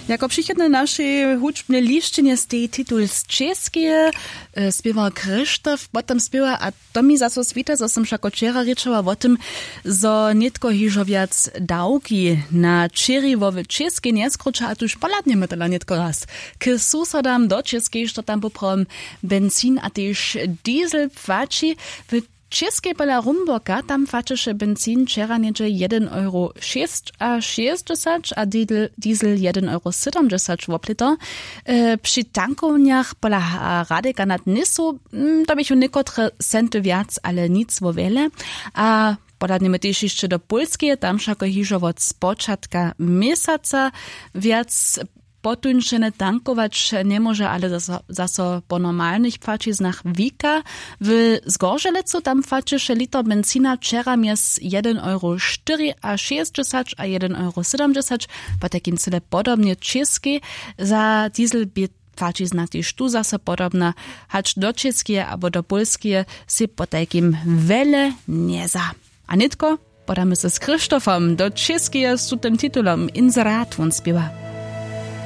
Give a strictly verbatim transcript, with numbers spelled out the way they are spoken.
Jako přichodne našej hudźbnej lisćenje steji titul z Čěskeje, spěwar Krzyštof potom spěwa. A to mi zaso swita, zo sym wšako wčera rěčała wo tym, zo nětko hižo wjac dawki na čěriwo w Čěskej njeskruća a tuž pohladnjemy tola nětko raz k susodam do Čěskej, što tam poprawom benzin a tež diesel płaći. W Čěskej pola Rumborka tam płaćeše benzin wčera něhdźe jedyn euro šěsćašěsćdźesać a diesel jedyn euro sydomdźesać woplěto. Při tankownjach pola radeka nad nysu to běchu někotre centy wjac, ale nic wo wjele. A podadnjemy tež hišće do pólskeje, tam wšako hižo wot spočatka měsaca wjac potuńšene tankować njemóže, ale zaso po normalnych płaćiznach wika. W zgorželecu tam płaćeše liter benzina wčera mjez jedyn euro štyriašěsćdźesać a jedyn euro sydomdźesać. Potajkim cyle podobnje w Čěskej. Za diesel bě płaćizna tež tu zaso podobna. Hač do Čěskeje abo do pólskeje sej potajkim wjele njeza. A nětko podamy se z Krzyštofom do Čěskeje z tutym titulom inserat wón spěwa.